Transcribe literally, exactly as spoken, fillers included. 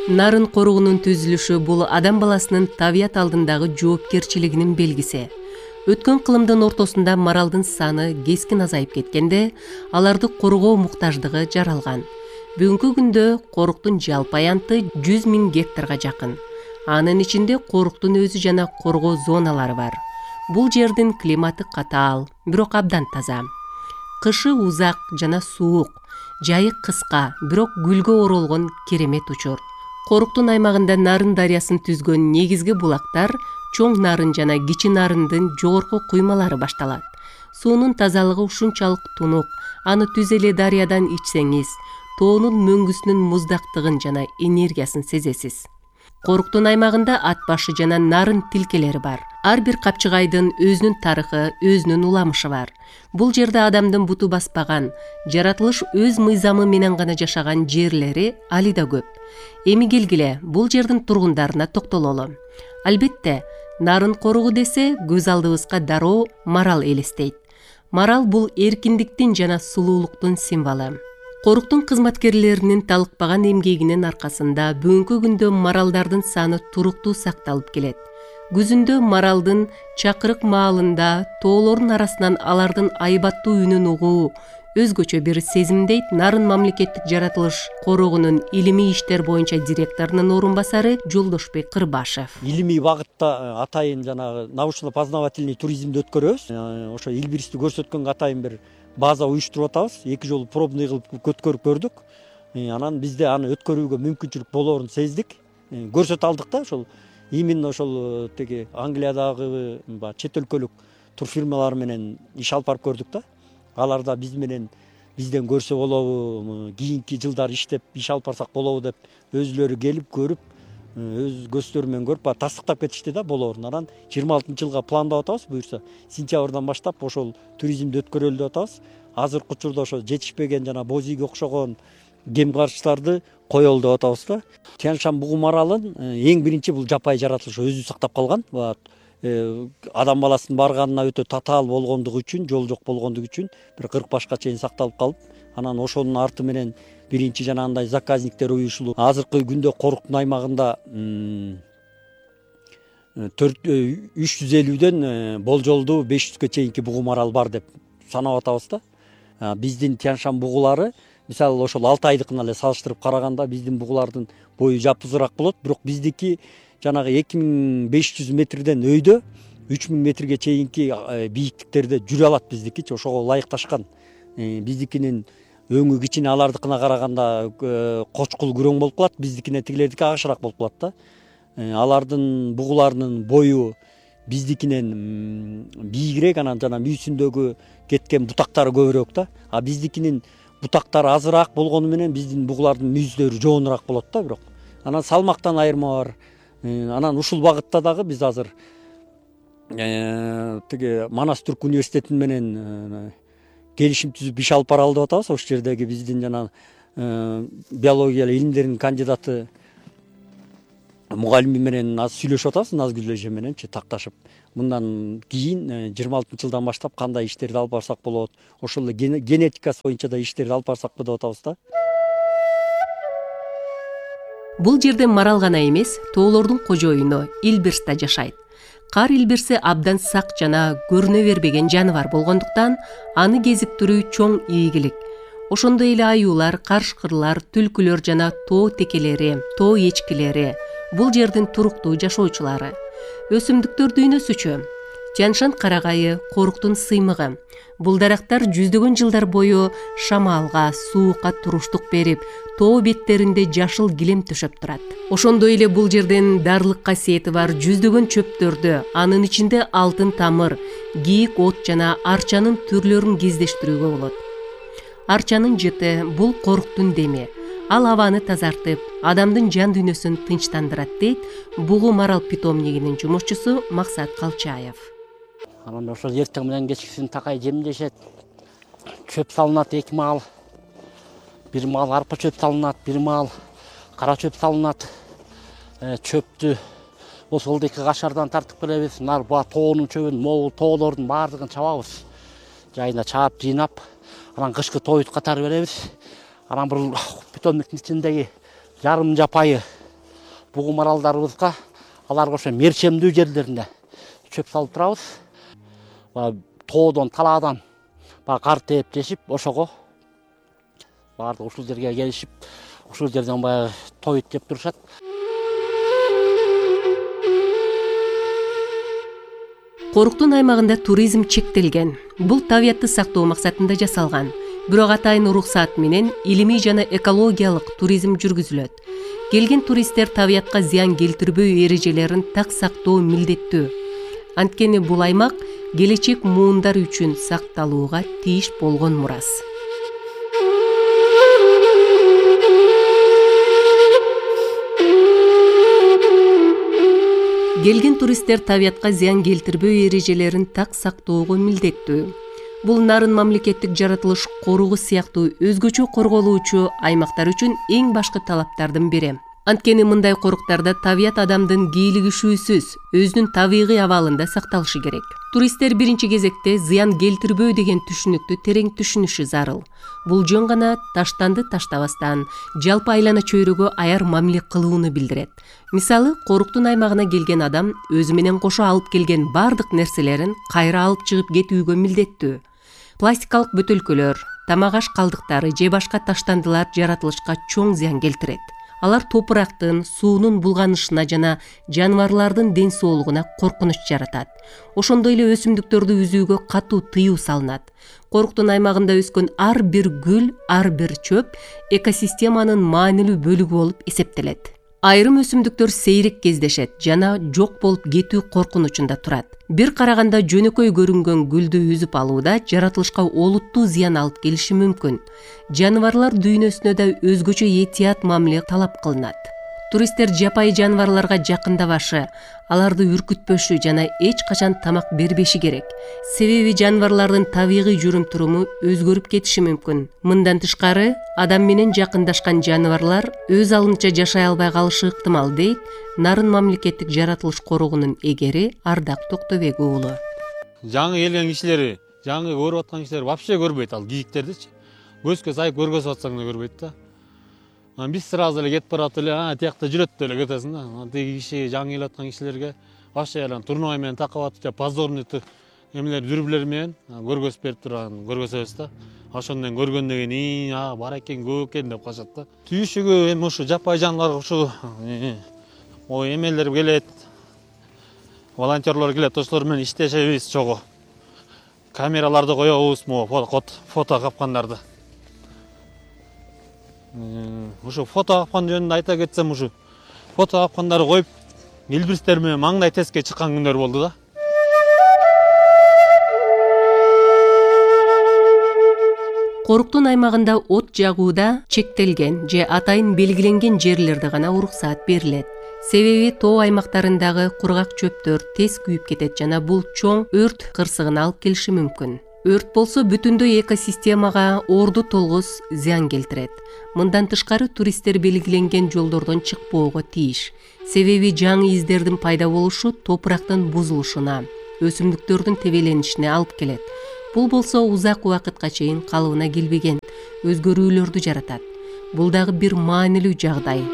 Нарын коругунун түзүлүшү бул адам баласынын табият алдындагы жоопкерчилигинин белгиси. Өткөн кылымдын ортосунда маралдын саны кескин азайып кеткенде, аларды коргоо муктаждыгы жаралган. Бүгүнкү күндө коруктун жалпы аянты жүз миң гектарга жакын. Анын ичинде коруктун өзү жана коргоо зоналары бар. Бул жердин климаты катаал, бирок абдан таза. Кышы узак жана суук, жайы кыска, бирок гүлгө оролгон керемет учур. Коруктун аймагында Нарын дарыясын түзгөн негизги булактар Чоң Нарын жана Кичи Нарындын жогорку куймалары башталат. Суунун тазалыгы ушунчалык тунук, аны түз эле дарыядан ичсеңиз, тоонун мөңгүсүнүн муздактыгын жана энергиясын сезесиз. Коруктун аймагында ат башы жана нарын тилкелери бар. Ар бир капчыгайдын өзүнүн тарыхы, өзүнүн уламышы бар. Бул жерде адамдын буту баспаган, жаратылыш өз мыйзамы менен гана жашаган жерлери али да көп. Эми келгиле, бул жердин тургундарына токтололу. Албетте, Нарын коругу десе, көз алдыбызга дароо марал элестейт. Марал бул эркиндиктин жана сулуулуктун символу. Коруктун кызматкерлеринин талыкпаган эмгегинин аркасында бүгүнкү күндө маралдардын саны туруктуу сакталып келет. Күзүндө маралдын чакырык маалында тоолордун арасынан алардын айбаттуу үнүн угуу өзгөчө бир сезимдейт. Нарын мамлекеттик жаратылыш корогунун илимий иштер боюнча директорунун орун басары Жолдошбек Кырбашев. Илимий багытта атайын жанагы научно-познавательный туризмди өткөрөбүз. Ошо Илбиристи көрсөткөнгө атайын бир база уюштуруп атабыз. Эки жолу пробный кылып өткөрүп көрдүк. Анан бизде аны өткөрүүгө мүмкүнчүлүк болоорун сездик. Көрсөтө алдык да, ошол именно ошол теги Англиядагы чет өлкөлүк турфирмалар менен иш алып барып көрдүк да. Алар да биз менен бизден көрсө болобу, кийинки жылдары иштеп иш алып барсак болобу деп өзүлөрү келип көрүп, өз көздөрү менен көрүп тастыктап кетишти да болоорун. Анан жыйырма алтынчы жылга пландап атабыз. Буюрса сентябрдан баштап ошол туризмди өткөрөлү деп атабыз. Азыркы учурда ошо жетишпеген жана боз ийге окшогон кем карчтарды коелу деп атабыз да. Тянь-Шань бугу маралын эң биринчи бул жапайы жаратылыш өзү сактап калган. Адам баласынын барганына өтө татаал болгондугу үчүн, жол жок болгондугу үчүн бир кырк башка чейин сакталып калып, анан ошонун арты менен биринчи жанагындай заказниктер уюшулуп, азыркы күндө коруктун аймагында үч жүз элүүдөн болжолдуу беш жүзгө чейинки бугу марал бар деп санап атабыз да. Биздин Тянь-Шань бугулары, мисалы ошол алты айдыкына эле салыштырып караганда биздин бугулардын бою жапызыраак болот, бирок биздики жанагы эки миң беш жүз метрден өйдө үч миң метрге чейинки бийиктиктерде жүрө алат биздикичи, ошого ылайыкташкан. Биздикинин өңү кичине, алардыкына караганда кочкул күрөң болуп калат, биздикине тигилердики агышыраак болуп калат да. Алардын бугуларынын бою биздикинен бийигирээк, анан жана мүйүсүндөгү кеткен бутактары көбүрөөк да. А биздикинин бутактары азыраак болгону менен биздин бугулардын мүйүздөрү жоонураак болот да, бирок анан салмактан айырма бар. Анан ушул багытта дагы биз азыр тиги Манас Түрк университети менен келишим түзүп иш алып баралы деп атабыз. Ошол жердеги биздин жана биология илимдеринин кандидаты мугалими менен азыр сүйлөшүп атабыз, Назгүл эже мененчи такташып. Мындан кийин жыйырма алтынчы жылдан баштап кандай иштерди алып барсак болот, ошол эле генетикасы боюнча да иштерди алып барсакпы деп атабыз да. Бул жерде марал гана эмес, тоолордун кожоюну Илбирс да жашайт. Кар илбирси абдан сак жана көрүнө бербеген жаныбар болгондуктан аны кезиктирүү чоң ийгилик. Ошондой эле аюулар, карышкырлар, түлкүлөр жана тоо текелери, тоо эчкилери бул жердин туруктуу жашоочулары. Өсүмдүктөр дүйнөсүчү. Тянь-Шань карагайы коруктун сыймыгы. Бул дарактар жүздөгөн жылдар бою шамалга, суукка туруштук берип, тоо беттеринде жашыл килем төшөп турат. Ошондой эле бул жерден дарылык касиети бар жүздөгөн чөптөрдү, анын ичинде алтын тамыр, кийик от жана арчанын түрлөрүн кездештирүүгө болот. Арчанын жыты бул коруктун деми. Ал абаны тазартып, адамдын жан дүйнөсүн тынчтандырат дейт бугу марал питомнигинин жумушчусу Максат Калчаев. Анан ошол эртең менен кечкисин такай жемдешет. Чөп салынат эки маал. Бир маал арпа чөп салынат, бир маал кара чөп салынат. Чөптү ошол эки кашардан тартып келебиз. Нарба тоонун чөбүн, могул тоолордун баардыгын чабабыз. Жайына чаап, жыйнап, анан кышкы тоют катары беребиз. Анан бул питомниктин ичиндеги жарым жапайы бугу маралдарыбызга аларга ошо мерчемдүү жерлерине чөп салып турабыз. Баягы тоодон, талаадан баягы кар тээптешип, ошого баардыгы ушул жерге келишип, ушул жерден баягы тоют жеп турушат. Коруктун аймагында туризм чектелген. Бул табиятты сактоо максатында жасалган. Бирок атайын уруксаат менен илимий жана экологиялык туризм жүргүзүлөт. Келген туристтер табиятка зыян келтирбөө эрежелерин так сактоо милдеттүү. Анткени бул аймак келечек муундар үчүн сакталууга тийиш болгон мурас. Келген туристтер табиятка зыян келтирбөө эрежелерин так сактоого милдеттүү. Бул нарын мамлекеттик жаратылыш коругу сыяктуу өзгөчө корголуучу аймактар үчүн эң башкы талаптардын бири. Анткени мындай коруктарда табият адамдын кийлигишүүсүз өзүнүн табигый абалында сакталышы керек. Туристтер биринчи кезекте зыян келтирбөө деген түшүнүктү терең түшүнүшү зарыл. Бул жөн гана таштанды таштабастан, жалпы айлана чөйрөгө аяр мамиле кылууну билдирет. Мисалы, коруктун аймагына келген адам өзү менен кошо алып келген бардык нерселерин кайра алып чыгып кетүүгө милдеттүү. Пластикалык бөтөлкөлөр, тамак аш калдыктары же башка таштандылар жаратылышка чоң зыян келтирет. Алар топурактын, суунун булганышына жана жаныбарлардын ден соолугуна коркунуч жаратат. Ошондой эле өсүмдүктөрдү үзүүгө катуу тыюу салынат. Коруктун аймагында өскөн ар бир гүл, ар бир чөп экосистеманын маанилүү бөлүгү болуп эсептелет. Айрым өсүмдүктөр сейрек кездешет жана жок болуп кетүү коркунучунда турат. Бир караганда жөнөкөй көрүнгөн гүлдү үзүп алууда жаратылышка олуттуу зыян алып келиши мүмкүн. Жаныбарлар дүйнөсүнө да өзгөчө этият мамиле талап кылынат. Туристтер жапайы жаныбарларга жакындабашы, аларды үркүтпөшү жана эч качан тамак бербеши керек. Себеби жаныбарлардын табигый жүрүм-туруму өзгөрүп кетиши мүмкүн. Мындан тышкары, адам менен жакындашкан жаныбарлар өз алынча жашай албай калышы ыктымал, дейт Нарын мамлекеттик жаратылыш коругунун эгери Ардак Токтобек уулу. Жаңы келген кишилери, жаңы көрүп аткан кишилер вообще көрбөйт ал кийиктердичи. Көзгө сайып көргөзүп атсаң да көрбөйт да. Биз сразу эле кетип барат эле, а тиякта жүрөт деп эле кетесиң да. Тиги киши жаңы келип аткан кишилерге вообще эле турнуай менен такап атып, же позорный эмелер дүрбүлөр менен көргөзүп берип турган көргөзөбүз да. Ошондон көргөндөн кийин, а бар экен, көп экен деп калышат да. Түйүшүгү эми ушу жапайы жаныбарлар ушу ой эмелер келет. Волонтерлор келет, ошолор менен иштешебиз чогуу. Камераларды коебуз, фото капкандарды. Ушу фото капкан жөнүндө айта кетсем, ушу фото капкандарды коюп, илбирстер менен маңдай тестке чыккан күндөр болду да. Коруктун аймагында от жагууда чектелген же атайын белгиленген жерлерде гана уруксаат берилет. Себеби тоо аймактарындагы кургак чөптөр тез күйүп кетет жана бул чоң өрт кырсыгына алып келиши мүмкүн. Өрт болсо бүтүндөй экосистемага орду толгус зыян келтирет. Мындан тышкары туристтер белгиленген жолдордон чыкпоого тийиш. Себеби жаңы издердин пайда болушу топурактын бузулушуна, өсүмдүктөрдүн тебеленишине алып келет. Бул болсо узак убакытка чейин калыбына келбеген өзгөрүүлөрдү жаратат. Бул дагы бир маанилүү жагдай.